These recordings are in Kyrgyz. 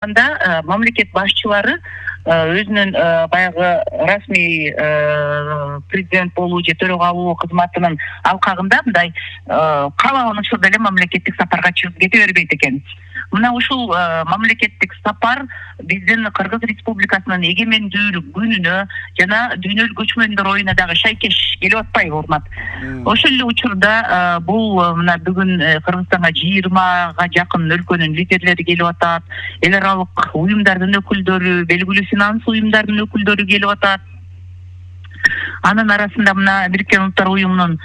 Мамлекет башчылары өзүнүн баягы расмий президент болуу же төрага алуу кызматынын алкагында мындай каалаган учурда эле мамлекеттик сапарга чыгып кете бербейт экен. Мына ушул мамлекеттик сапар биздин Кыргыз Республикасынын эгемендүүлүк күнүнө жана дүйнөлүк көчмөндөр оюна дагы шайкеш келип атпайбы, урмат? Ошол эле учурда бул мына бүгүн Кыргызстанга 20га жакын өлкөнүн лидерлери келип атат, эл аралык уюмдардын өкүлдөрү, белгилүү финанс уюмдарынын өкүлдөрү келип атат. Анын арасында мына Бириккен Улуттар уюмунун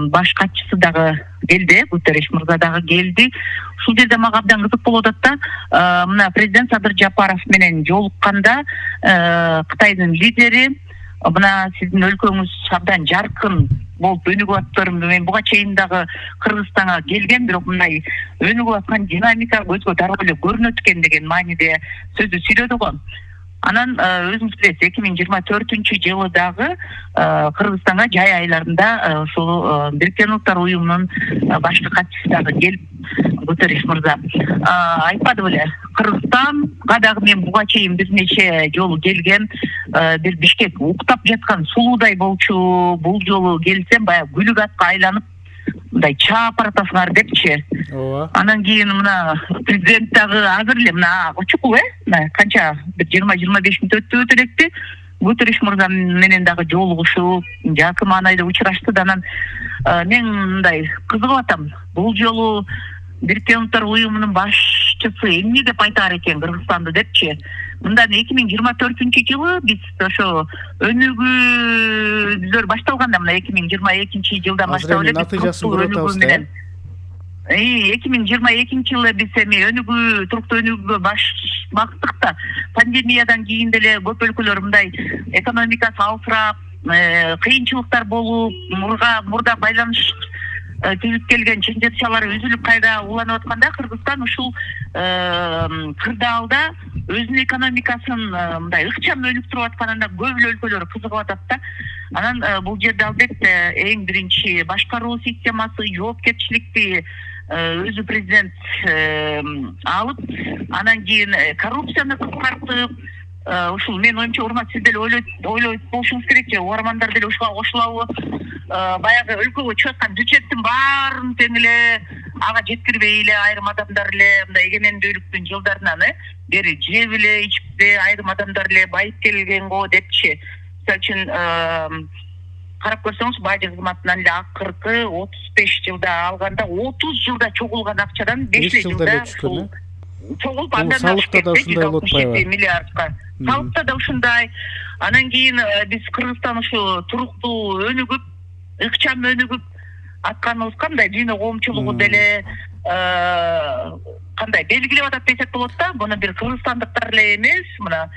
баш катчысы дагы келди, Гутерриш мырза дагы келди. Ушул жерде мага абдан кызык болуп атат да, мына президент Садыр Жапаров менен жолукканда Кытайдын лидери мына сиздин өлкөңүз абдан жаркын болуп өнүгүп атыптыр. Мен буга чейин дагы Кыргызстанга келгем, бирок мындай өнүгүп аткан динамика көзгө дароо эле көрүнөт экен деген мааниде сөздү сүйлөдү го. Анан өзүңүз билесиз, 2024-жылы дагы Кыргызстанга жай айларында ушул Бириккен Улуттар уюмунун башкы катчысы дагы келип, Гутерриш мырза айтпады беле, Кыргызстанга дагы мен буга чейин бир нече жолу келгем, бир Бишкек уктап жаткан сулуудай болчу, бул жолу келсем баягы гүлүк атка айланып мындай чаап баратасыңар депчи. Анан кийин мына президент дагы азыр эле мына учукул мына канча бир 20-25 мүнөт өтүп электи. Гутерриш мырза менен дагы жолугушуп, жакын маанайда учурашты да. Анан мен мындай кызыгып атам. Бул жолу Бириккен Улуттар уюмунун башчысы эмне деп айтаар экен Кыргызстанды депчи. Мындан 2024-жылы биз ошо өнүгүүбүздөр башталганда мына 2022-жылдан баштап эле биз өнүгүү менен 2022-жылы биз эми өнүгүү, туруктуу өнүгүүгө бактык да. Пандемиядан кийин деле көп өлкөлөр мындай экономикасы алсырап, кыйынчылыктар болуп, мурда байланыш түзүп келген ченжетчалар үзүлүп кайра уланып атканда, Кыргызстан ушул кырдаалда өзүнүн экономикасын мындай ыкчам өнүктүрүп атканына көп өлкөлөр кызыгып атат да. Анан бул жерде албетте эң биринчи башкаруу системасы, жоопкерчиликти өзү президент алып, анан кийин коррупцияны кыскартып, ушул мен оюмча, урмат, сиз деле ойлойт болушуңуз керек же, угармандар деле ушуга кошулабы? Баягы өлкөгө чыгып аткан бюджеттин баарын тең эле ага жеткирбей эле айрым адамдар эле мындай эгемендүүлүктүн жылдарынан бери жеп эле, ичип эле айрым адамдар эле байып келген го депчи. Мисалы үчүн карап көрсөңүз, бажы кызматынан эле акыркы 35 жылда алганда 30 жылда чогулган акчадан 5 жылда чогулуп, андан салыкта да ушундай болуп атпайбы? Миллиардка. Салыкта да ушундай. Анан кийин биз Кыргызстан ушу туруктуу өнүгүп, ыкчам өнүгүп атканыбызга мындай дүйнө коомчулугу деле кандай белгилеп атат десек болот да. Буну бир кыргызстандыктар эле эмес, мына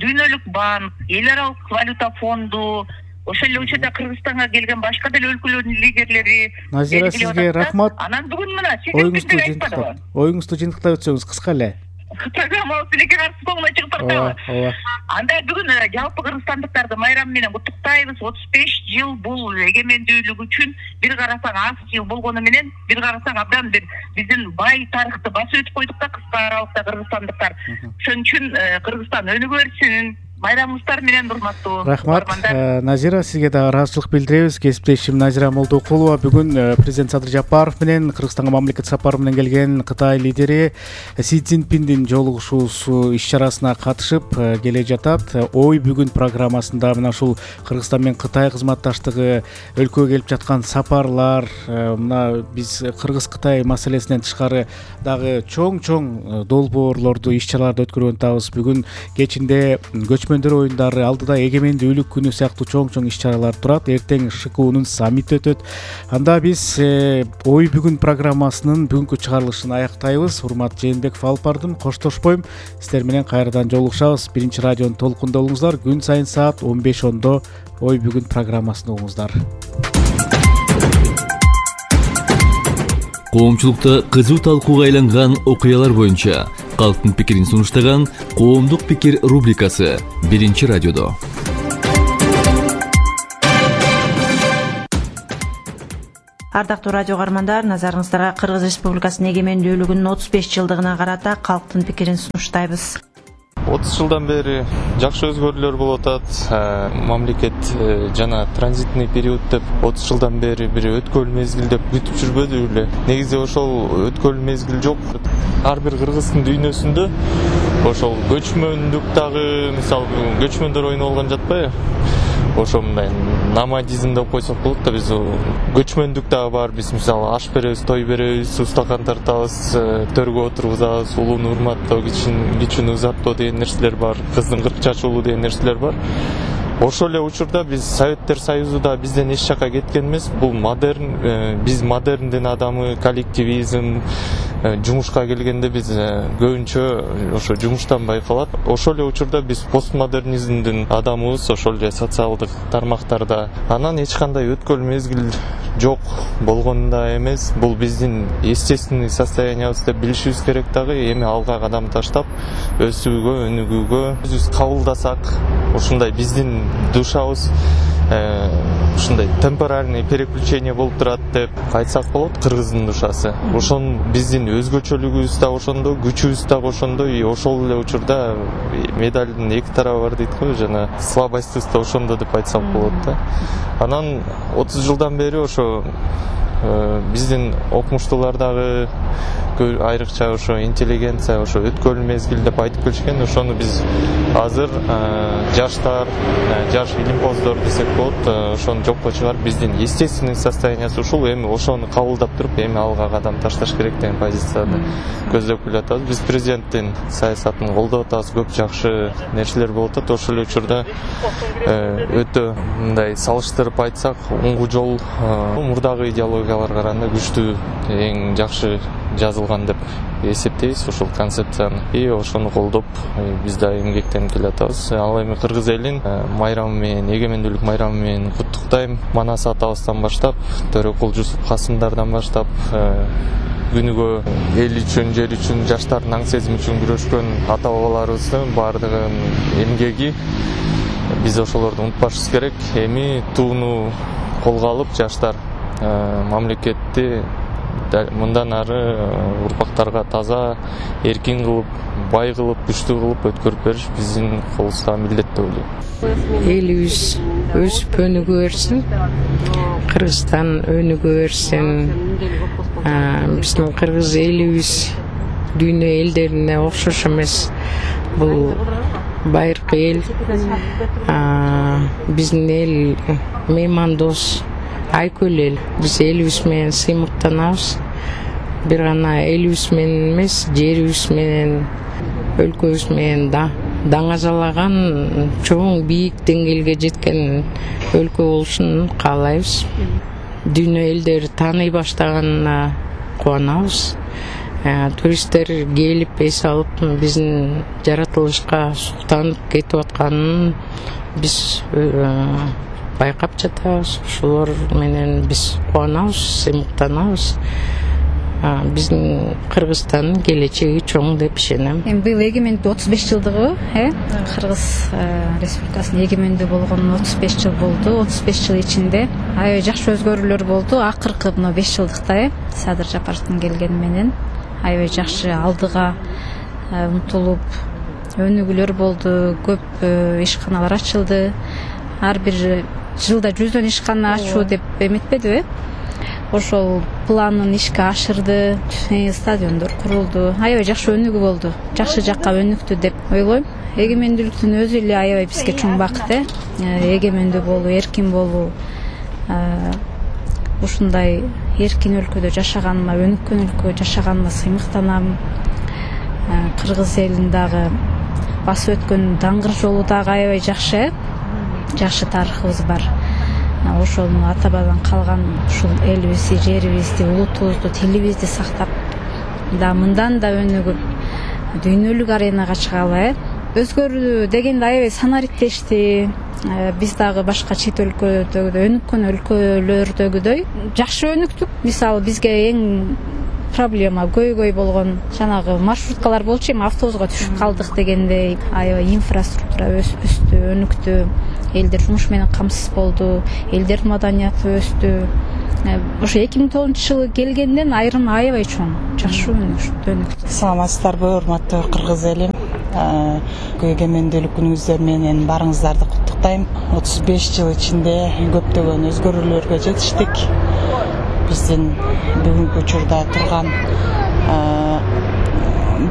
дүйнөлүк банк, эл аралык валюта фонду, ошол эле учурда Кыргызстанга келген башка деле өлкөлөрдүн лидерлери. Назира, сизге рахмат. Анан бүгүн мына сиздер оюңузду жыйынтыктап өтсөңүз кыска эле. Программабыз тилекке каршы соңуна чыгып тартабы? Анда бүгүн жалпы кыргызстандыктарды майрам менен куттуктайбыз. 35 жыл бул эгемендүүлүк үчүн бир карасаң аз жыл болгону менен, бир карасаң абдан бир биздин бай тарыхты басып өтүп койдук да кыска аралыкта кыргызстандыктар. Ошон үчүн Кыргызстан өнүгө берсин. Майрамыңыздар менен урматтуу. Рахмат. Назира, сизге да ыраазычылык билдиребиз. Кесиптешим Назира Молдокулова бүгүн президент Садыр Жапаров менен Кыргызстанга мамлекет сапары менен келген Кытай лидери Си Цзиньпиндин жолугушуусу иш-чарасына катышып келе жатат. Ой бүгүн программасында мына ушул Кыргызстан менен Кытай кызматташтыгы, өлкөгө келип жаткан сапарлар, мына биз Кыргыз-Кытай маселесинен тышкары дагы чоң долбоорлорду, иш-чараларды өткөрүп атабыз. Бүгүн кечинде көчмөндөр оюндары, алдыда эгемендүүлүк күнү сыяктуу чоң иш-чаралар турат. Эртең ШКУнун саммити өтөт. Анда биз Ой бүгүн программасынын бүгүнкү чыгарылышын аяктайбыз. Урмат Жээнбеков алып бардым, коштошпойм. Сиздер менен кайрадан жолугушабыз. Биринчи радионун толкунда болуңуздар. Күн сайын саат 15:10 Ой бүгүн программасын угуңуздар. Коомчулукта кызуу талкууга айланган окуялар боюнча калктын пикирин сунуштаган Коомдук пикир рубрикасы Биринчи радиодо. Ардактуу радио каармандар, назарыңыздарга Кыргыз Республикасынын эгемендүүлүгүнүн 35 жылдыгына карата калктын пикирин сунуштайбыз. 30 жылдан бери жакшы өзгөрүүлөр болуп атат. Мамлекет жана транзитный период деп 30 жылдан бери бир өткөн мезгил деп күтүп жүрбөдү беле. Негизи ошол өткөн мезгил жок. Ар бир кыргыздын дүйнөсүндө ошол көчмөндүк дагы, мисалы, көчмөндөр ойноп алган жатпайбы? Ошо мындай номадизм деп койсок болот да, биз көчмөндүк дагы бар. Биз мисалы аш беребиз, той беребиз, устакан тартабыз, төргө отургузабыз, улууну урматтоо, кичүүнү узаттоо деген нерселер бар, кыздын 40 чачуулу деген нерселер бар. Ошол эле учурда биз Советтер Союзу да бизден эч жакка кеткен эмес. Бул модерн, биз модерндин адамы, коллективизм, жумушка келгенде биз көбүнчө ошо жумуштан байкалат. Ошол эле учурда биз постмодернизмдин адамыбыз, ошол эле социалдык тармактарда. Анан эч кандай өткөн мезгил жок болгон да эмес. Бул биздин естественный состояниябыз деп билишибиз керек дагы. Эми алга кадам таштап, өсүүгө, өнүгүүгө өзүбүз кабылдасак, ушундай биздин душабыз ушундай темпоральный переключение болуп турат деп айтсак болот. Кыргыздын душасы ошон биздин өзгөчөлүгүбүз да ошондо, күчүбүз да ошондо. И ошол эле учурда медалдын эки тарабы бар дейт го, жана слабостьбыз да ошондо деп айтсак болот да. Анан 30 жылдан бери ошо биздин окумуштуулар дагы айрыкча ошо интеллигенция ошо өткөн мезгил деп айтып келишкен. Ошону биз азыр жаштар, жаш илимпоздор десек болот, ошону жокко чыгарып, биздин естественный состояниясы ушул. Эми ошону кабылдап туруп, эми алга кадам ташташ керек деген позицияны көздөп келатабыз. Биз президенттин саясатын колдоп атабыз, көп жакшы нерселер болуп атат. Ошол учурда өтө мындай салыштырып айтсак, оңгу жол мурдагы идеологияларга караганда күчтүү, эң жакшы жазылган деп эсептейбиз ошол концепцияны. И ошону колдоп биз да эмгектенип келатабыз. Ал эми кыргыз элин майрамы менен, эгемендүүлүк майрамы менен куттуктайм. Манас атабыздан баштап, Төрөкул Жусуп Касымдардан баштап, күнүгө эл үчүн, жер үчүн, жаштардын аң сезими үчүн күрөшкөн ата бабаларыбыздын баардыгынын эмгеги, биз ошолорду унутпашыбыз керек. Эми тууну колго алып, жаштар мамлекетти мындан ары урпактарга таза, эркин кылып, бай кылып, күчтүү кылып өткөрүп бериш биздин колубузда милдет деп ойлойм. Элибиз өсүп өнүгө берсин, Кыргызстан өнүгө берсин. Биздин кыргыз элибиз дүйнө элдерине окшош эмес. Бул байыркы эл. Биздин эл меймандос, айкөл эл. Биз элибиз менен сыймыктанабыз. Бир гана элибиз менен эмес, жерибиз менен, өлкөбүз менен даңазалаган, чоң бийик деңгээлге жеткен өлкө болушун каалайбыз. Дүйнө элдери тааный баштаганына кубанабыз. Туристтер келип эс алып, биздин жаратылышка суктанып кетип атканын биз байкап жатабыз. Ошолор менен биз кубанабыз, сыймыктанабыз. Биздин Кыргызстандын келечеги чоң деп ишенем. Быйыл эгемендүү 35 жылдыгы, Кыргыз Республикасынын эгемендүү болгонуна 35 жыл болду. 35 жыл ичинде аябай жакшы өзгөрүүлөр болду. Акыркы мына 5 жылдыкта Садыр Жапаровдун келгени менен аябай жакшы алдыга умтулуп өнүгүүлөр болду. Көп ишканалар ачылды. Ар бир жылда 100 ишкана ачуу деп эметпедиби? Ошол планын ишке ашырды, стадиондор курулду. Аябай жакшы өнүгүү болду. Жакшы жакка өнүктү деп ойлойм. Эгемендүүлүктүн өзү эле аябай бизге чоң бакыт. Эгемендүү болуу, эркин болуу. Ушундай эркин өлкөдө жашаганыма, өнүккөн өлкөдө жашаганыма сыймыктанам. Кыргыз элин дагы басып өткөн даңгыр жолу дагы аябай жакшы. Жакшы тарыхыбыз бар. Ошону ата бабадан калган ушул элибизди, жерибизди, улутубузду, тилибизди сактап, мындан да өнүгүп, дүйнөлүк аренага чыгалы. Өзгөрүү дегенде аябай санариптешти. Биз дагы башка чет өлкөлөрдөгүдөй, өнүккөн өлкөлөрдөгүдөй жакшы өнүктүк. Мисалы бизге эң проблема көйгөй болгон жанагы маршруткалар болчу, эми автобуска түшүп калдык дегендей. Аябай инфраструктура өстү, өнүктү. Элдер жумуш менен камсыз болду, элдердин маданияты өстү. ошо 2009-жылы келгенден айрым аябай чоң, жакшы өнүктү. Саламатсыздарбы, урматтуу кыргыз элим. Эгемендүүлүк күнүңүздөр менен барыңыздарды куттуктайм. 35 жыл ичинде көптөгөн өзгөрүүлөргө жетиштик. Биздин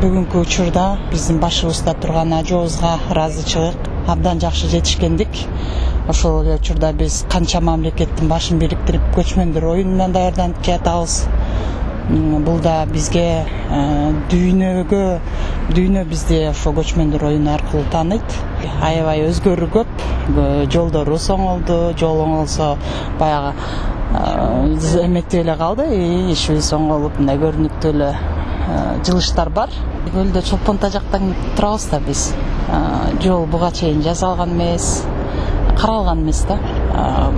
бүгүнкү учурда биздин башыбызда турган ажообузга ыраазычылык, абдан жакшы жетишкендик. Ошол эле учурда биз канча мамлекеттин башын бириктирип көчмөндөр оюнуна даярданып келатабыз. Бул да бизге дүйнө бизди ошо көчмөндөр оюну аркылуу тааныйт. Аябай өзгөрүү көп, жолдорубуз оңолду, жол оңолсо баягы эметип эле калды, ишибиз оңолуп, мындай көрүнүктүү эле жылыштар бар. Көлдө Чолпон тажактан турабыз да биз. Жол буга чейин жасалган эмес, каралган эмес да.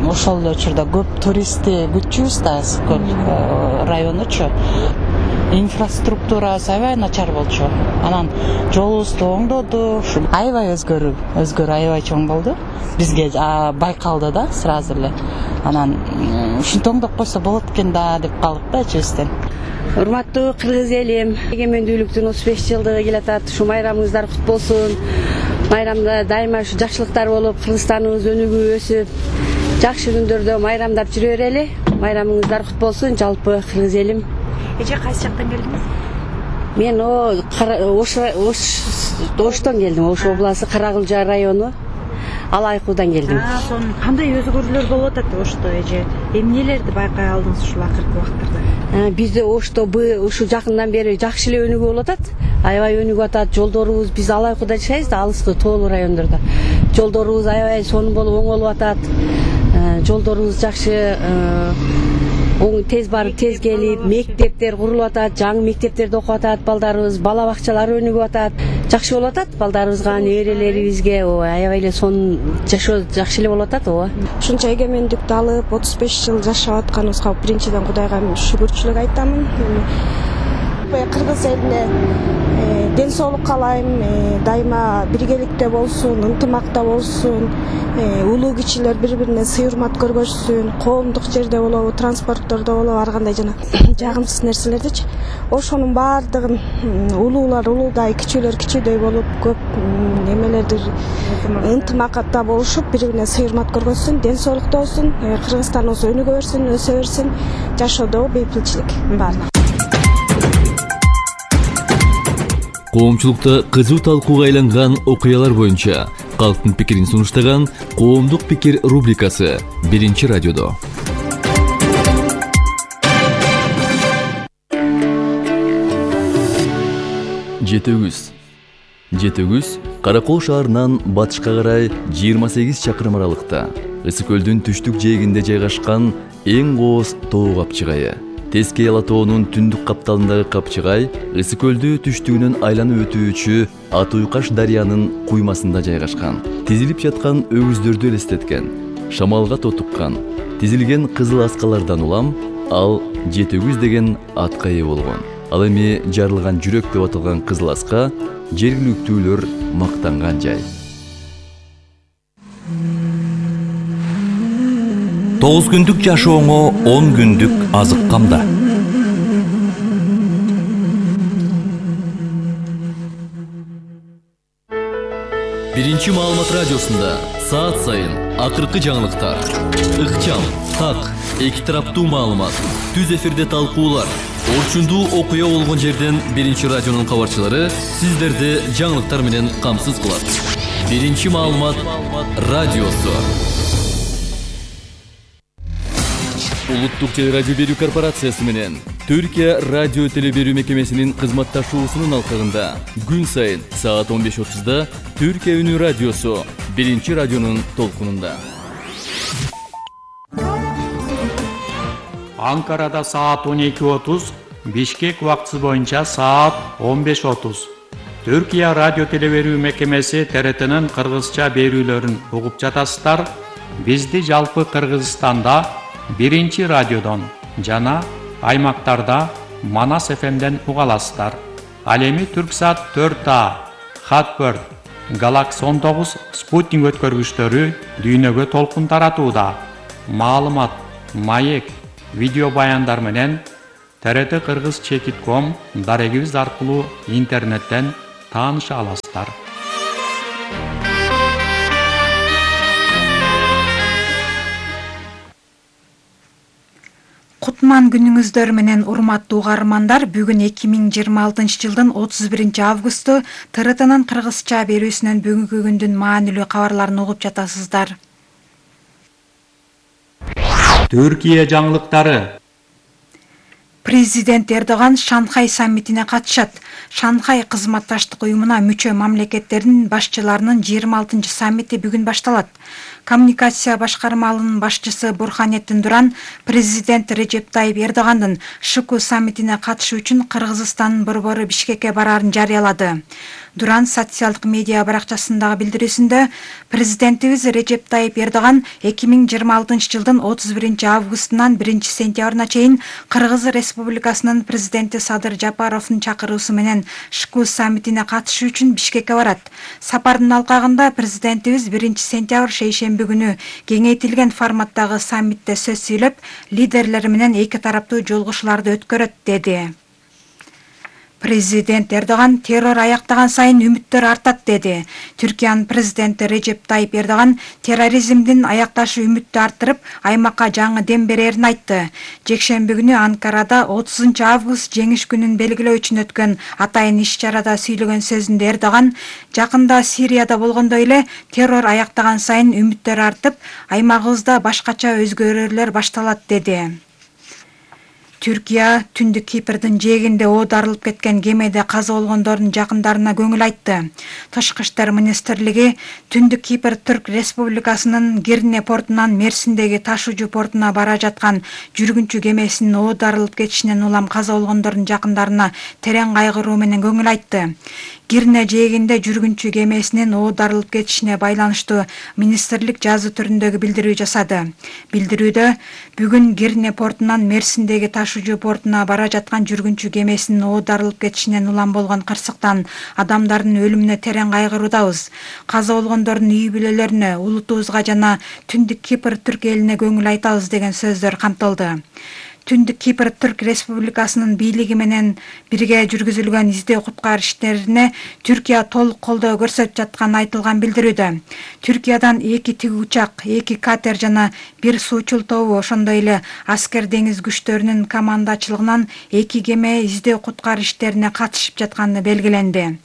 Ошол эле учурда көп туристти күтчүбүз да, Көл районучу. Инфраструктурасы аябай начар болчу. Анан жолубузду оңдоду. Аябай өзгөрүү аябай чоң болду. Бизге байкалды да сразу эле. Анан ушинтип оңдоп койсо болот экен да деп калдык да ичибизден. Урматтуу кыргыз элим, эгемендүүлүктүн 35 жылдыгы келатат. Ушу майрамыңыздар кут болсун. Майрамда дайыма ушу жакшылыктар болуп, Кыргызстаныбыз өнүгүп өсүп, жакшы күндөрдө майрамдап жүрө берели. Майрамыңыздар кут болсун, жалпы кыргыз элим. Эже кайсы жактан келдиңиз? Мен Оштон келдим. Ош областы Каракылжа району Алайкуудан келдим. Сонун кандай өзгөрүүлөр болуп атат Ошто эже? Эмнелерди байкай алдыңыз ушул акыркы убактарда? Бизде Ошто ушу жакындан бери жакшы эле өнүгүп болуп атат. Аябай өнүгүп атат. Жолдорубуз, биз Алайкуудо жашайбыз да, алыскы тоолуу райондордо. Жолдорубуз аябай сонун болуп оңолуп атат. Жолдорубуз жакшы, тез барып тез келип, мектептер курулуп атат, жаңы мектептерде окуп атат балдарыбыз, бала бакчалар өнүгүп атат. Жакшы болуп атат, балдарыбызга, неберелерибизге аябай эле сонун жашоо жакшы эле болуп атат, ооба. Ушунча эгемендикти алып 35 жыл жашап атканыбызга биринчиден Кудайга шүгүрчүлүк айтамын. Кыргыз элине ден соолук каалайм, дайыма биргеликте болсун, ынтымакта болсун, улуу кичилер бири-бирине сый урмат көргөзсүн, коомдук жерде болобу, транспорттордо болобу, ар кандай жана жагымсыз нерселердичи. Ошонун баардыгын улуулар улуудай, кичүүлөр кичүүдөй болуп, көп немелерди ынтымакта болушуп, бири-бирине сый урмат көргөзсүн, ден соолукта болсун, Кыргызстаныбыз өнүгө берсин, өсө берсин, жашоодо бейпилчилик баардыгы. Коомчулукта кызуу талкууга айланган окуялар боюнча калктын пикирин сунуштаган Коомдук пикир рубрикасы 1-радиодо. Жетөгүз Каракол шаарынан батышка карай 28 чакырым аралыкта, Ысык көлдүн түштүк жээгинде жайгашкан эң кооз тоо капчыгайы. Тескей Ала тоонун түндүк капталындагы капчыгай Ысык көлдү түштүгүнөн айланып өтүүчү Ат Уйкаш дарыянын куймасында жайгашкан. Тизилип жаткан өгүздөрдү элестеткен, шамалга тотуккан, тизилген кызыл аскалардан улам ал Жетөгүз деген атка ээ болгон. Ал эми жарылган жүрөк деп аталган кызыл аска жергиликтүүлөр мактанган жай. 9 күндүк жашооңо 10 күндүк азык камда. Биринчи маалымат радиосунда саат сайын акыркы жаңылыктар, ыкчам, так, эки тараптуу маалымат, түз эфирде талкуулар, орчундуу окуя болгон жерден Биринчи радионун кабарчылары сиздерди жаңылыктар менен камсыз кылат. Биринчи маалымат радиосу. Улуттук телерадио берүү корпорациясы менен Түркия радио телеберүү мекемесинин кызматташуусунун алкагында күн сайын саат 15:30 Түркия үнү радиосу 1-радионун толкунунда. Анкарада саат 12:30, Бишкек убактысы боюнча саат 15:30. Түркия радио телеберүү мекемеси ТРТнын кыргызча берүүлөрүн угуп жатасыздар. Бизди жалпы Кыргызстанда 1-радиодон жана аймактарда Манас ФМден уга аласыздар. Ал эми Түрксат 4А, Хатбird, Galaxy 19 спутник өткөргүчтөрү дүйнөгө толкун таратууда. Маалымат, маек, видео баяндар менен TRT Кыргыз Чекит.com дарегибиз аркылуу интернеттен тааныша аласыздар. Кутман күнүңүздөр менен урматтуу угармандар, бүгүн 2026 жылдын 31 августу ТРТнын кыргызча берүүсүнөн бүгүнкү күндүн маанилүү кабарларын угуп жатасыздар. Түркия жаңылыктары. Президент Эрдоган Шанхай саммитине катышат. Шанхай кызматташтык уюмуна мүчө мамлекеттердин башчыларынын 26 саммити бүгүн башталат. Коммуникация башкармалынын башчысы Бурханеттин Дуран президент Режеп Тайип Эрдогандын ШКУ саммитине катышуу үчүн Кыргызстандын борбору Бишкекке бараарын жарыялады. Дуран социалдык медиа баракчасындагы билдирүүсүндө президентибиз Режеп Тайип Эрдоган 2026 жылдын 31 августунан 1 сентябрына чейин Кыргыз Республикасынын президенти Садыр Жапаровдун чакыруусу менен ШКУ саммитине катышуу үчүн Бишкекке барат. Сапардын алкагында президентибиз 1 сентябрь шейшемби күнү кеңейтилген форматтагы саммитте сөз сүйлөп, лидерлер менен эки тараптуу жолугушууларды өткөрөт деди. Президент Эрдоган террор аяктаган сайын үмүттөр артат деди. Түркиянын президенти Режеп Тайип Эрдоган терроризмдин аякташы үмүттү арттырып, аймакка жаңы дем берерин айтты. Жекшемби күнү Анкарада 30 август жеңиш күнүн белгилөө үчүн өткөн атайын иш-чарада сүйлөгөн сөзүндө Эрдоган жакында Сирияда болгондой эле террор аяктаган сайын үмүттөр артып, аймагыбызда башкача өзгөрүүлөр башталат деди. Түркия Түндүк Кипрдин жээгинде оодарылып кеткен кемеде каза болгондордун жакындарына көңүл айтты. Тышкы иштер министрлиги Түндүк Кипр Түрк Республикасынын Гирне портунан Мерсиндеги ташуучу портуна бара жаткан жүргүнчү кемесинин оодарылып кетишинен улам каза болгондордун жакындарына терең кайгыруу менен көңүл айтты. Гирне жээгинде жүргүнчү кемесинин оодарылып кетишине байланыштуу министрлик жазуу түрүндөгү билдирүү жасады. Билдирүүдө бүгүн Гирне портунан Мерсиндеги ташуучу портуна бара жаткан жүргүнчү кемесинин оодарылып кетишинен улам болгон кырсыктан адамдардын өлүмүнө терең кайгыруудабыз. Каза болгондордун үй бүлөлөрүнө, улутубузга жана Түндүк Кипр Түрк элине көңүл айтабыз деген сөздөр камтылды. Түндүк Кипр Түрк Республикасынын бийлиги менен бирге жүргүзүлгөн издөө куткаруу иштерине Түркия толук колдоо көрсөтүп жатканы айтылган билдирүүдө. Түркиядан 2 тиги учак, 2 катер жана 1 суучул тобу, ошондой эле аскер деңиз күчтөрүнүн командачылыгынан 2 кеме издөө куткаруу иштерине катышып жатканы белгиленди.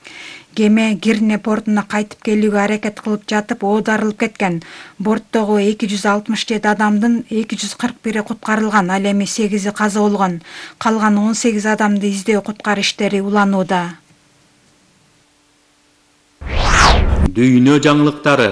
Кеме Гирне портуна кайтып келүүгө аракет кылып жатып оодарылып кеткен. Борттогу 267 адамдын 241 куткарылган, ал эми 8 каза болгон. Калган 18 адамды издөө куткаруу иштери уланууда. Дүйнө жаңылыктары.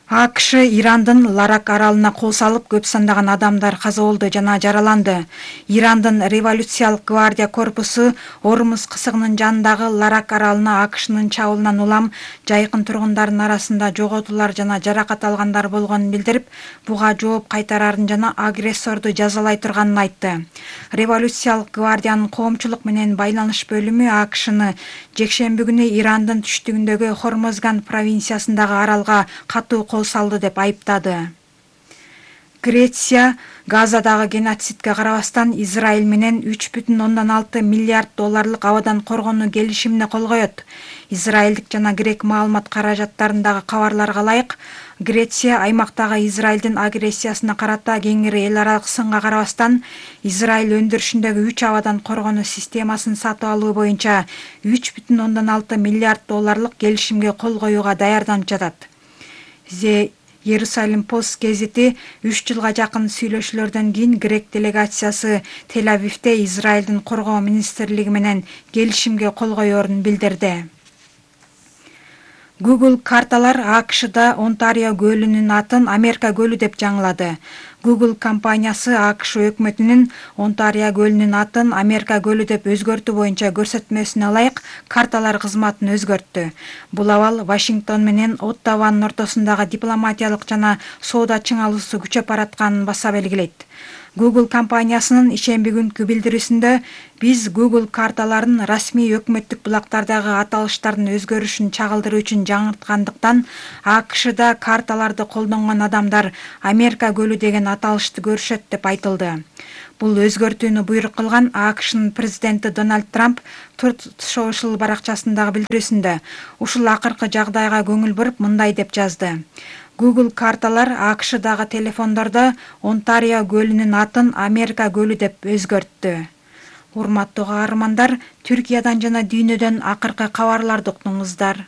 АКШ Ирандын Ларак аралына кол салып, көп сандаган адамдар каза болду жана жараланды. Ирандын революциялык гвардия корпусу Ормуз кысыгынын жанындагы Ларак аралына АКШнын чабуулунан улам жайкын тургундардын арасында жоготуулар жана жаракат алгандар болгонун билдирип, буга жооп кайтарарын жана агрессорду жазалай турганын айтты. Революциялык гвардиянын коомчулук менен байланыш бөлүмү АКШны жекшемби күнү Ирандын түштүгүндөгү Хормозган провинциясындагы аралга катуу кол салды деп айыптады. Греция Газадагы геноцидке карабастан Израиль менен 3,6 миллиард долларлык абадан коргонуу келишимине кол коет. Израилдик жана грек маалымат каражаттарындагы кабарларга ылайык, Греция аймактагы Израилдин агрессиясына карата кеңири эл аралык сынга карабастан Израиль өндүрүшүндөгү 3 абадан коргонуу системасын сатып алуу боюнча 3,6 миллиард долларлык келишимге кол коюуга даярданып жатат. Иерусалим Пост гезити 3 жылга жакын сүйлөшүүлөрдөн кийин грек делегациясы Тель-Авивде Израилдин коргоо министрлиги менен келишимге кол коерун билдирди. Google карталар АКШда Онтарио көлүнүн атын Америка көлү деп жаңылады. Google компаниясы АКШ өкмөтүнүн Онтарио көлүнүн атын Америка көлү деп өзгөртүү боюнча көрсөтмөсүнө ылайык карталар кызматын өзгөрттү. Бул абал Вашингтон менен Оттаванын ортосундагы дипломатиялык жана соода чыңалуусу күчөп баратканын баса белгилейт. Google компаниясынын ишемби күнкү билдирүүсүндө биз Google карталарын расмий өкмөттүк булактардагы аталыштардын өзгөрүшүн чагылдыруу үчүн жаңырткандыктан АКШда карталарды колдонгон адамдар Америка көлү деген аталышты көрүшөт деп айтылды. Бул өзгөртүүнү буйрук кылган АКШнын президенти Дональд Трамп Truth Social баракчасындагы билдирүүсүндө ушул акыркы жагдайга көңүл буруп мындай деп жазды. Google карталар АКШдагы телефондордо Онтарио көлүнүн атын Америка көлү деп өзгөрттү. Урматтуу каармандар, Түркиядан жана дүйнөдөн акыркы кабарларды уктуңуздар.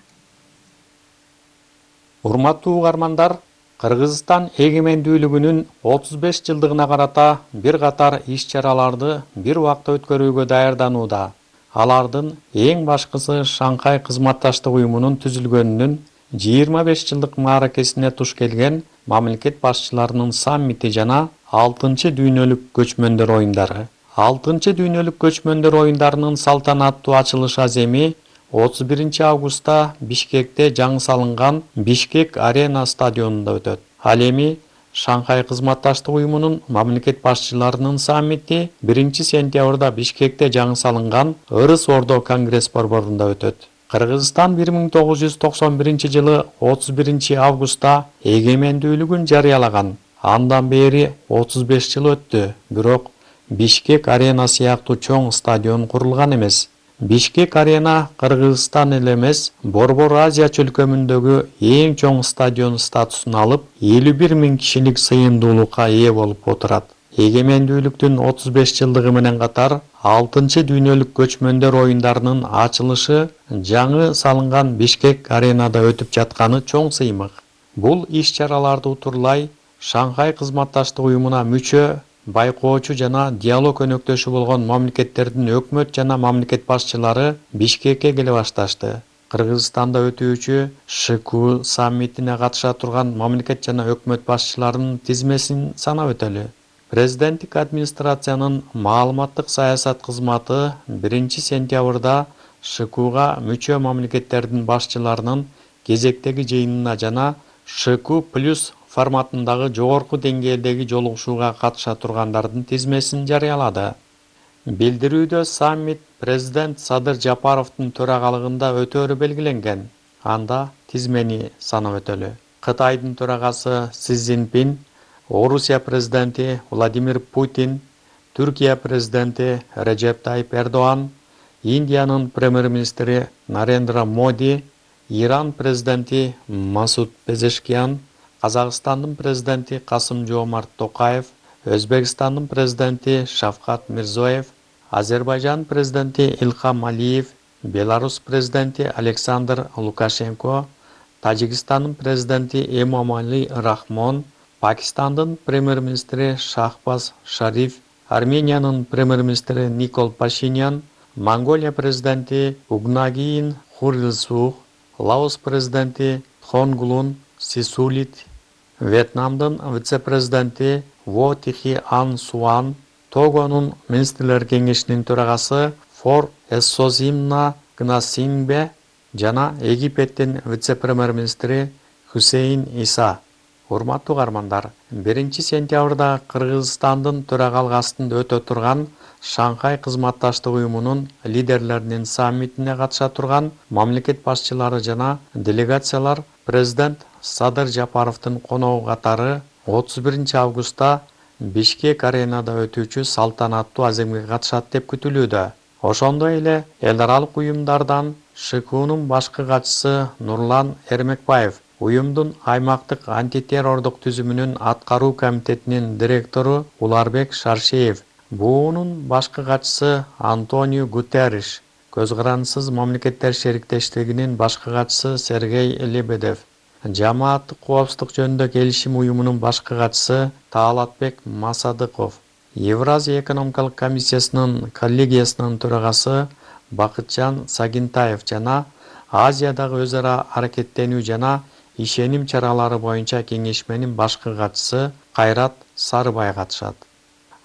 Урматтуу каармандар, Кыргызстан эгемендүүлүгүнүн 35 жылдыгына карата бир катар иш-чараларды бир убакта өткөрүүгө даярданууда. Алардын эң башкысы Шанхай кызматташтык уюмунун түзүлгөнүнүн 25 жылдык мааракесине туш келген мамлекет башчыларынын саммити жана 6-чы дүйнөлүк көчмөндөр оюндары. 6-чы дүйнөлүк көчмөндөр оюндарынын салтанаттуу ачылыш аземи 31 августта Бишкекте жаңы салынган Бишкек Арена стадионунда өтөт. Ал эми Шанхай кызматташтык уюмунун мамлекет башчыларынын саммити 1-сентябрда Бишкекте жаңы салынган Ырыс Ордо конгресс борборунда өтөт. Кыргызстан 1991 жылы 31 августта эгемендүүлүгүн жарыялаган. Андан бери 35 жыл өттү, бирок Бишкек Арена сыяктуу чоң стадион курулган эмес. Бишкек Арена Кыргызстан эле эмес, Борбор Азия чөлкөмүндөгү эң чоң стадион статусун алып, 51 000 кишилик сыйымдуулукка ээ болуп отурат. Эгемендүүлүктүн 35 жылдыгы менен катар 6-чы дүйнөлүк көчмөндөр оюндарынын ачылышы жаңы салынган Бишкек Аренада өтүп жатканы чоң сыймык. Бул иш-чараларды утурлай Шанхай кызматташтык уюмуна мүчө, байкоочу жана диалог өнөктөшү болгон мамлекеттердин өкмөт жана мамлекет башчылары Бишкекке келе башташты. Кыргызстанда өтүүчү ШКУ саммитине катыша турган мамлекет жана өкмөт башчыларынын тизмесин санап өтөлү. Президенттик администрациянын маалыматтык саясат кызматы 1-сентябрда ШКУга мүчө мамлекеттердин башчыларынын кезектеги жыйынына жана ШКУ+ форматындагы жогорку деңгээлдеги жолугушууга катыша тургандардын тизмесин жарыялады. Билдирүүдө саммит президент Садыр Жапаровдун төрагалыгында өтөөрү белгиленген. Анда тизмени санап өтөлү. Кытайдын төрагасы Си Цзиньпин, Орусия президенти Владимир Путин, Түркия президенти Режеп Тайип Эрдоан, Индиянын премьер-министри Нарендра Моди, Иран президенти Масуд Пезешкиян, Казакстандын президенти Касым-Жомарт Токаев, Өзбекстандын президенти Шавкат Мирзоев, Азербайжан президенти Илхам Алиев, Беларусь президенти Александр Лукашенко, Тажикстандын президенти Эмомали Рахмон, Пакистандын премьер-министри Шахбаз Шариф, Армениянын премьер-министри Никол Пашинян, Монголия президенти Угнагиин Хурилсух, Лаос президенти Тхонгулун Сисулит, Вьетнамдын вице-президенти Во Тихи Ан Суан, Тогонун министрлер кеңешинин төрагасы Фор Эссозимна Гнасимбе жана Египеттин вице-премьер-министри Хусейн Иса. Урматтуу каармандар, 1-сентябрда Кыргызстандын төрагалык астында өтө турган Шанхай кызматташтык уюмунун лидерлеринин саммитине катыша турган мамлекет башчылары жана делегациялар президент Садыр Жапаровдун коногу катары 31 августта Бишкек Аренада өтүүчү салтанаттуу аземге катышат деп күтүлүүдө. Ошондой эле эл аралык уюмдардан ШКУнун башкы катчысы Нурлан Эрмекбаев, уюмдун аймактык антитеррордук түзүмүнүн аткаруу комитетинин директору Уларбек Шаршеев, буунун башкы катчысы Антонио Гутерриш, Көз карандысыз мамлекеттер шериктештигинин башкы катчысы Сергей Лебедев, Жамааттык коопсуздук жөнүндө келишим уюмунун башкы катчысы Таалатбек Масадыков, Евразия экономикалык комиссиясынын коллегиясынын төрагасы Бакытжан Сагинтаев жана Азиядагы өз ара аракеттенүү жана ишеним чаралары боюнча кеңешменин башкы катчысы Кайрат Сарыбай катышат.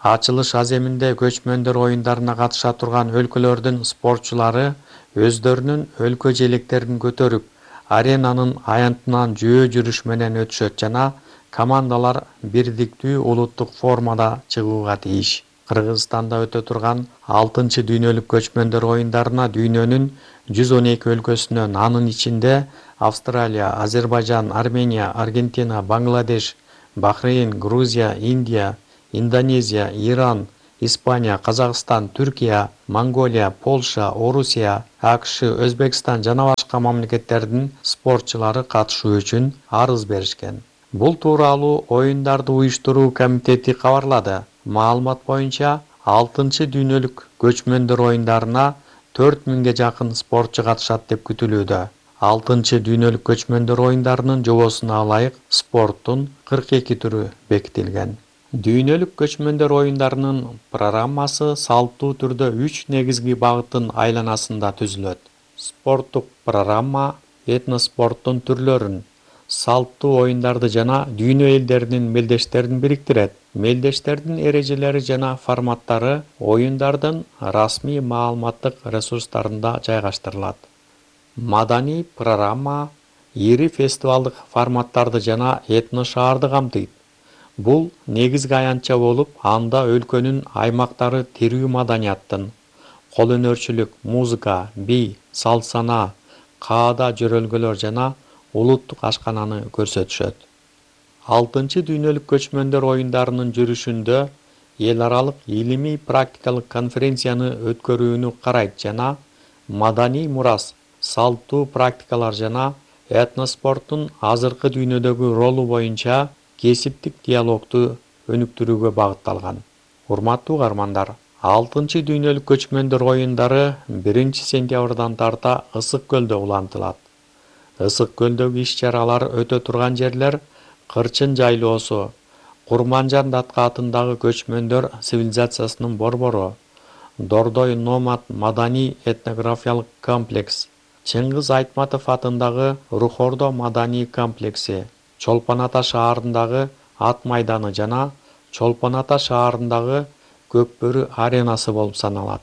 Ачылыш аземинде көчмөндөр оюндарына катыша турган өлкөлөрдүн спортчулары өздөрүнүн өлкө желектерин көтөрүп, аренанын аянтынан жөө жүрүш менен өтүшөт жана командалар бирдиктүү улуттук формада чыгууга тийиш. Кыргызстанда өтө турган 6-чы дүйнөлүк көчмөндөр оюндарына дүйнөнүн 112 өлкөсүнөн, анын ичинде Австралия, Азербайжан, Армения, Аргентина, Бангладеш, Бахрейн, Грузия, Индия, Индонезия, Иран, Испания, Казакстан, Түркия, Монголия, Польша, Орусия, АКШ, Өзбекстан жана башка мамлекеттердин спортчулары катышуу үчүн арыз беришкен. Бул тууралуу оюндарды уюштуруу комитети кабарлады. Маалымат боюнча 6-чы дүйнөлүк көчмөндөр оюндарына 4000-ге жакын спортчу катышат деп күтүлүүдө. 6-чы дүйнөлүк көчмөндөр оюндарынын жобосуна ылайык спорттун 42 түрү бекитилген. Дүйнөлүк көчмөндөр оюндарынын программасы салттуу түрдө 3 негизги багыттын айланасында түзүлөт. Спорттук программа этноспорттун түрлөрүн, салттуу оюндарды жана дүйнө элдеринин мелдештерин бириктирет. Мелдештердин эрежелери жана форматтары оюндардын расмий маалыматтык ресурстарында жайгаштырылат. Маданий программа ири фестивалдык форматтарды жана этно-шаарды камтыйт. Бул негизги аянтча болуп, анда өлкөнүн аймактары тирүү маданияттын, кол өнөрчүлүк, музыка, бий, салт-санаа, каада жөрөлгөлөр жана улуттук ашкананы көрсөтүшөт. 6-чы дүйнөлүк көчмөндөр оюндарынын жүрүшүндө эл аралык илимий практикалык конференцияны өткөрүүнү карайт жана маданий мурас, салттуу практикалар жана этноспорттун азыркы дүйнөдөгү ролу боюнча кесиптик диалогду өнүктүрүүгө багытталган. Урматтуу угармандар, 6-чы дүйнөлүк көчмөндөр оюндары 1-сентябрдан тарта Ысык көлдө улантылат. Ысык көлдөгү иш-чаралар өтө турган жерлер Кырчын жайлоосу, Курманжан датка атындагы көчмөндөр цивилизациясынын борбору, Дордой номад маданий этнографиялык комплекс, Чыңгыз Айтматов атындагы Рухордо маданий комплекси, Чолпон Ата шаарындагы ат майданы жана Чолпон Ата шаарындагы Көкбөрү аренасы болуп саналат.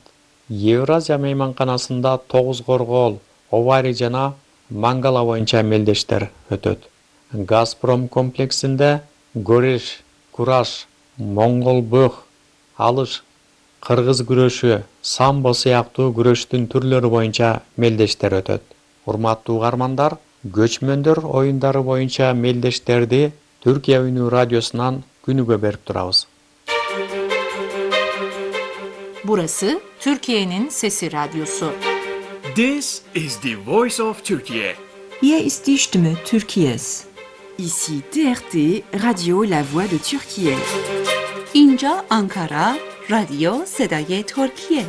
Евразия мейманканасында Тогуз Коргоол, Овари жана Мангала боюнча мелдештер өтөт. Газпром комплексинде Гореш, Кураш, Моңгол бөх, алыш, кыргыз күрөшү, самбо сыяктуу күрөштүн түрлөрү боюнча мелдештер өтөт. Урматтуу угармандар, көчмөндөр оюндары боюнча мелдештерди Түркия үнү радиосунан күнүгө берип турабыз. Burası Türkiye'nin Sesi Radyosu. This is the voice of Turkey. Hier ist die Stimme Türkiye's. Ici TRT Radio La Voix de Türkiye. اینجا Ankara راديو صدای ترکیه.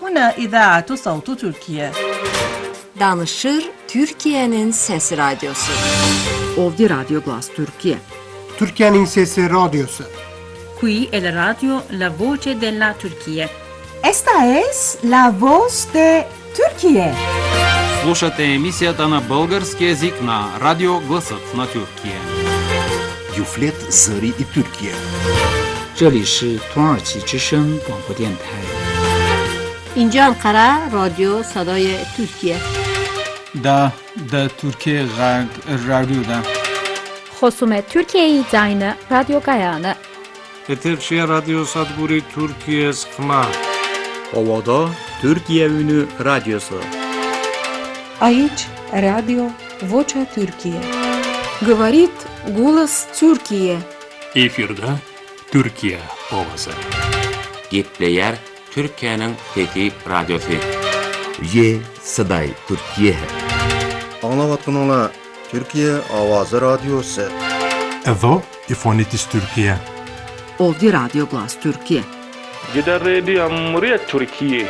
هنا إذاعة صوت تركيا. Danışır Türkiye'nin Sesi Radyosu. Ovdi Radyo Glas Türkiye. Türkiye'nin Sesi Radyosu. Qui è la radio La Voce della Turquía. Esta es la voz de Turquía. Слушате емисията на български език на Радио Гласът на Тюркия. Юфлет Зари и Тюркия. 这里是土耳其之声广播电台。 اینجا انقره رادیو صدای ترکیه. Da Türkiye Radyo'da. خصوم Türkiye Zayını Radyo Gayane. Eterşehir Radyo Sadguri Türkiye Skma. Ovada Türkiye Ünü Radyosu. Aici Radio Vocea Türkiye. Говорит голос Türkiye. Efirde Türkiye ovası. Gepleyer Türkiye'nin Fethi Radyosu. Ye Saday Türkiye. Anlavatkanlar Türkiye Avazı Radyosu. Evo İfonitis Türkiye. Ovdi Radyo Glas Türkiye. Gider Radio Cumhuriyet Türkiye.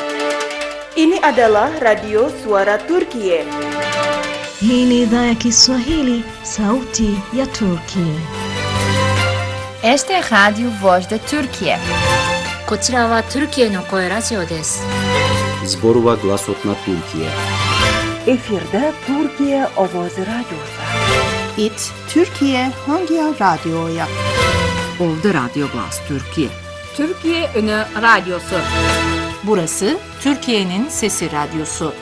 Ini adalah Radio Suara Turkiye. Hii ni idhaa ya Kiswahili, sauti ya Turkiye. Este Radio Voz de Turkiye. こちらはトルキエの声ラジオです。Zborova Glasot na Türkiye. Efirde Türkiye Ovoz Radyosu. It Türkiye Hangi Radyo'ya? Ovdi Radyo Glas Türkiye. Türkiye Ünü Radyosu. Burası Türkiye'nin Sesi Radyosu.